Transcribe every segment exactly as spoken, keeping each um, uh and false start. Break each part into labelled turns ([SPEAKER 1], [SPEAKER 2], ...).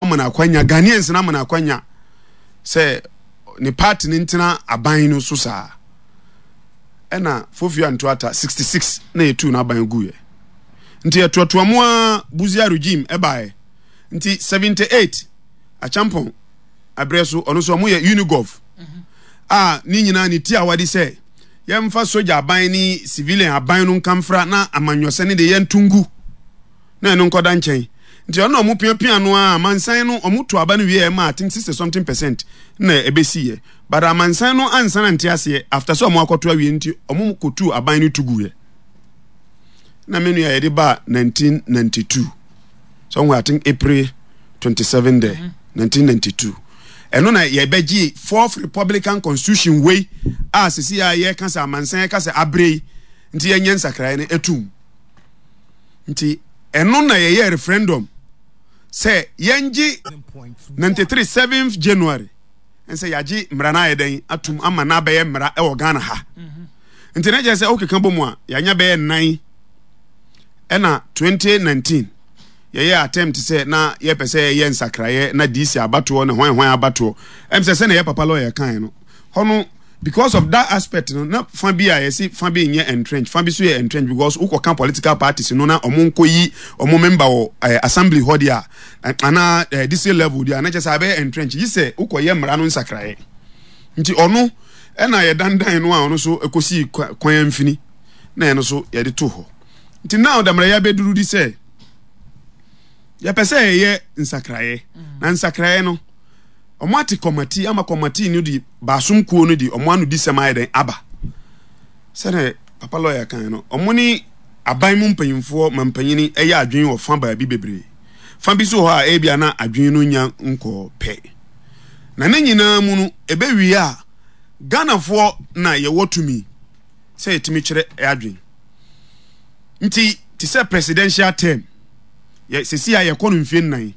[SPEAKER 1] Ama no akwanya, Ghanaians no ama no akwanya sɛ ne party no ntena aban no so saa. Ɛna Fofio Antoata sixty-six na yɛtuu n'aban guiɛ. Nti yɛtoatoa mu a, Busia regime ɛbaeɛ. Nti seventy-eight Acheampong aberɛ so, ɔno nso ɔmo yɛ Unigov a ne nyinaa ne ti a wɔde sɛ yɛmfa sogya aban ne civilian aban no nkamfra na amanyɔsɛ ne de yɛnto ngu na ɛno nkɔda nkyɛn. Nti ɔno na ɔmo piapia no a, amansan no ɔmo to aba no wie, ɛma I think sixty something percent na ɛbɛsi yɛ, but amansan no ansa na nte aseɛ after sɛ ɔmo akɔto awie. Nti ɔmo kɔtu aban no tu guiɛ. Na me nua, yɛde ba nineteen ninety-two somewhere, I think April twenty-seven there, nineteen ninety-two. Ɛno na yɛbɛgye Fourth Republican Constitution wei a sisi a yɛka sɛ amansan yɛka sɛ abere yi nti yɛnyɛ nsakraeɛ no etum. Nti ɛno na yɛyɛ referendum sɛ yɛngye ninety-three seventh January nsɛ yɛagye mmara no ayɛ dɛn atum ama no abɛyɛ mmara ɛwɔ Ghana ha. Nti na kyerɛ sɛ wokeka bɔ mu a, yɛanya bɛyɛ nnan. Ɛna twenty nineteen yɛyɛ attempt sɛ na yɛpɛ sɛ yɛyɛ nsakraeɛ na D C abatoɔ ne hwan hwan abatoɔ. Ɛm sɛ sɛne yɛ papa lawyer kan no hɔ no, because of that aspect no, na fa bi a yɛsi fa bi nyɛ entrench, fa bi so yɛ entrench, because wokɔka political parties no na ɔmo nkɔ yi ɔmo member wɔ eh, assembly hɔ deɛ a, anaa eh, district level deɛ a, na kyerɛ sɛ abɛyɛ entrench yi sɛ wokɔyɛ mmara no nsakraeɛ. Nti ɔno ɛna yɛdandan no a, ɔno so ɛkɔsii kwan amfini na ɛno so yɛde to hɔ. Nti now damara yɛabɛduru di sɛ yɛpɛ sɛ yɛyɛ nsakraeɛ, na nsakraeɛ no ɔmo ate committee ama committee no de baasom kuo no de ɔmo ano di sɛm ayɛ dɛn aba. Sɛdeɛ papa lawyer kan no, ɔmo ne aban mu mpanyinfoɔ ma mpanyini ɛyɛ adwene wɔ fa baabi bebree. Fa bi so hɔ a, ebia na adwene no nya nkɔɔ pɛ. Na ne nyinaa mu no, ɛbɛwie a, Ghanafoɔ na yɛwɔ tumi sɛ yɛtumi kyerɛ adwene. Nti te sɛ presidential term yɛ sisi a yɛkɔ no mfie nnan,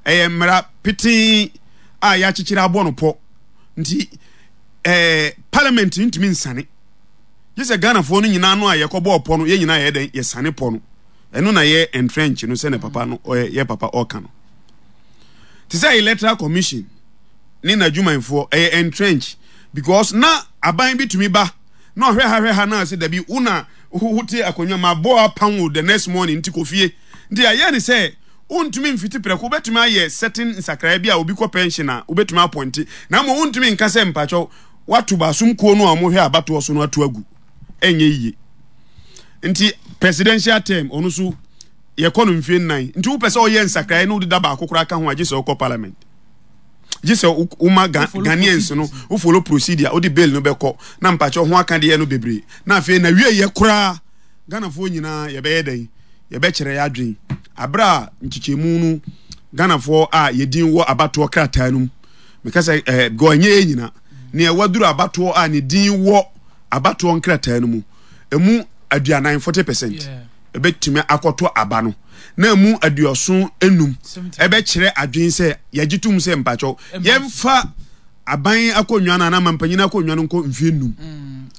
[SPEAKER 1] ɛyɛ mmara petee a yɛakyekyere abɔ no pɔ. Nti ɛɛ parliament ntumi nsane gye sɛ Ghanafoɔ no nyinaa no a yɛkɔbɔɔ pɔ no, yɛn nyinaa yɛ dɛn yɛsane pɔ no. Ɛno na yɛ entrench no sɛ ne papa no ɔyɛ yɛ papa ɔka no te sɛ Electoral Commission ne n'adwumayɛfoɔ ɛyɛ entrench, because na aban bi tumi ba na ɔhwɛ ha hwɛ ha na ɔsɛ dabi, wo na wote akonnwa ma bɔ apam wo the next morning, nti kɔ fie. Nti ayɛ ne sɛ wontumi mfiti prɛko. Wobɛtumi ayɛ certain nsakraeɛ bi a obi kɔ pension a, wobɛtumi appoint, na mmom wontumi nka sɛ mpakyɛw wato baasom kuo no a wɔhwɛ abatoɔ so no ato agu, ɛnyɛ yie. Nti presidential term ɔno so yɛkɔ no mfie nnan. Nti wopɛ sɛ ɔyɛ nsakraeɛ na wode da baako koraa ka ho a, gye sɛ wokɔ parliament, gye sɛ woma Ghanaians no wo follow procedure, wode bill no bɛkɔ na mpakyɛ ho aka deɛ no bebree. Na afei na wie yɛ koraa, Ghanafoɔ nyinaa yɛbɛyɛ dɛn, yɛbɛkyerɛ yɛ adwen aberɛ a nkyekyɛmu no Ghanafoɔ a yɛdin wɔ abatoɔ krataa no mu. Meka sɛ ɛɛ gɔ ɛnyɛ yɛ nyina nea waduru abatoɔ a ne din wɔ abatoɔ nkrataa no mu, emu aduanan, forty percent, ɛbɛtumi akɔto aba no, na emu aduɔson enum ɛbɛkyerɛ adwene sɛ yɛgye tom sɛ mpakyɛw yɛmfa aban akonnwa no anaa mampanyin akonnwa no nkɔ mfie nnum.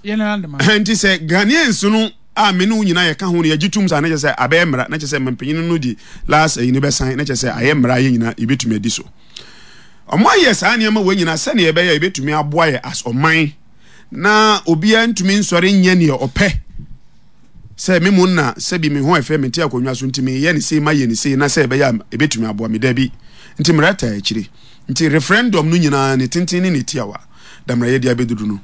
[SPEAKER 1] Nti sɛ Ghanaians no a me ne wo nyinaa yɛka ho no yɛgye tom saa, na kyerɛ sɛ abɛyɛ mmara, na kyerɛ sɛ mampanyin no di last ɛyi no bɛsan, na kyerɛ sɛ ayɛ mmara, yɛ nyinaa yɛbɛtumi adi so. Ɔmo ayɛ saa nneɛma wɔ nyinaa sɛnea yɛbɛyɛ yɛbɛtumi aboa yɛ as ɔman na obiara ntumi nsɔre nyɛ nea ɔpɛ sɛ me mu na sɛbi me ho ɛfɛ, me te akonnwa so nti meyɛ ne sei, mayɛ ne sei, na sɛ ɛbɛyɛ a ɛbɛtumi aboa me dabi. Nti mmara taa akyire. Nti referendum no nyinaa ne tenten ne ne tiawa damra yɛde abɛduru no.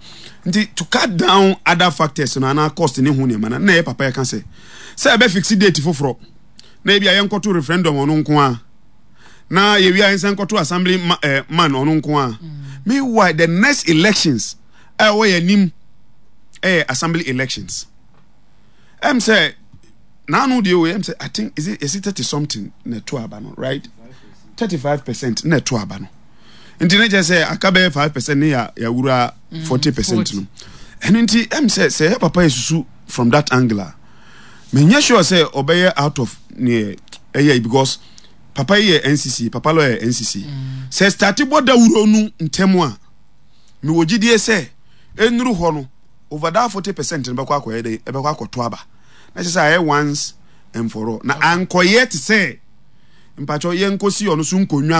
[SPEAKER 1] Nti to cut down other factors no anaa cost ne ho nneɛma no, na ɛyɛ papa yɛka sɛ sɛ ɛbɛ fix date foforɔ na ebi a yɛnkɔto referendum ɔno nko a, na yɛwie a yɛnsan nkɔto assembly ma, eh, man ɔno nko a. Meanwhile, the next elections a ɛwɔ yɛn anim ɛyɛ assembly elections. Ɛm sɛ naanu deɛ o, ɛm sɛ I think is it is it thirty something na ɛto aba no, right? Thirty five percent na ɛto aba no. Nti ne kyerɛ sɛ aka bɛyɛ five percent ne yɛ yɛawura forty percent no. Ɛno nti ɛm sɛ sɛ ɛyɛ papa yɛ susu from that angle a, menyɛ sure sɛ ɔbɛyɛ out of ne ɛyɛ, because papa yi yɛ N C C, papa lawyer yɛ N C C. Sɛ start bɔ dawuro no ntɛm a, mewɔ gyidie sɛ ɛnuru hɔ no, over that forty percent no bɛkɔ akɔyɛ dɛ ɛbɛkɔ akɔto aba, na kyerɛ sɛ ayɛ once and for all na ankɔyɛ te sɛ mpakyɛw yɛnkɔsi ɔno so nkonnwa.